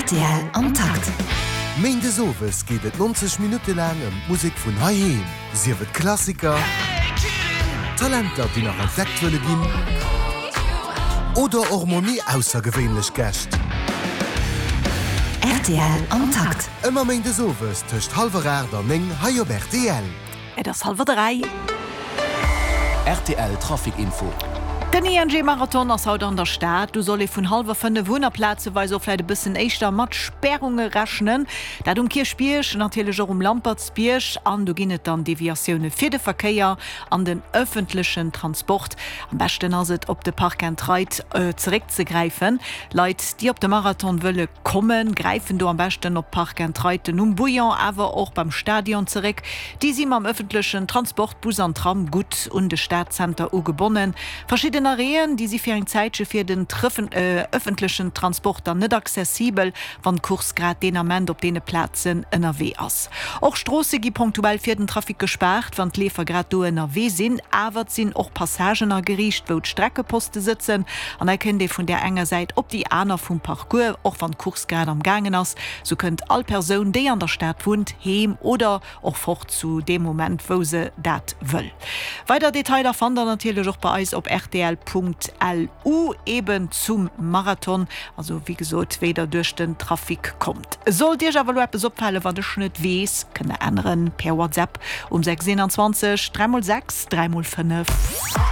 Rtl am Takt. Méindes owes geet et 90 Minutte laang ëm d'Musek vun heiheem, sief et Klassiker, Talenter, déi nach entdeckt wëlle ginn, oder och mol méi aussergewéinlech Gäscht. Rtl am Takt. Ëmmer méindes owes tëscht hallwer 8 an 9 hei op rtl. Et ass hallwer 3. Rtl Trafic Info. Den ING Marathon ass haut an der Stad. Do soll ee vun hallwer 5 un a plazeweis och vläit e bëssen éischter mat Spärunge rechnen. Dat um Kierchbierg, natierlech och um Lampertsbierg. An do ginn et dann Deviatioune fir de Verkéier an den ëffentlechen Transport. Am beschten ass et op de Park and Ride zeréckzegräifen. Leit déi op de Marathon wëlle kommen, gräifen do am beschten op d'Park and Riden um Bouillon, awer och beim Stadion zeréck. Déi si mam ëffentlechen Transport, Bus an Tram, gutt un de Stadzenter ugebonnen. Verschidden Arrêten, déi si fir eng Zäitche fir den ëffentlechen Transport dann net accessibel, wann d'Course grad deen Ament op deene Plazen ënnerwee ass. Och Stroosse gi ponktuell fir den Trafic gespaart, wann d'Leefer grad do ënnerwee sinn. Awer et sinn och Passagen ageriicht, wou d'Streckeposte sëtzen an hei kënnt ee vun där enger Säit op déi aner vum Parcours, och wann d'Course grad am gaangen ass. Sou kënnt all Persoun, déi an der Stad wunnt, heem oder och fort zu deem Moment, wou se dat wëll. Weider Detailer fannt der natierlech och bei eis op rtl.lu, eben zum Marathon. Also wéi gesot, wéi der duerch den Trafic kommt. Sollt iech awer elo eppes opfalen, wat ech net weess, kënnt der änneren per WhatsApp um 6 21 3 x 6 3 x 5.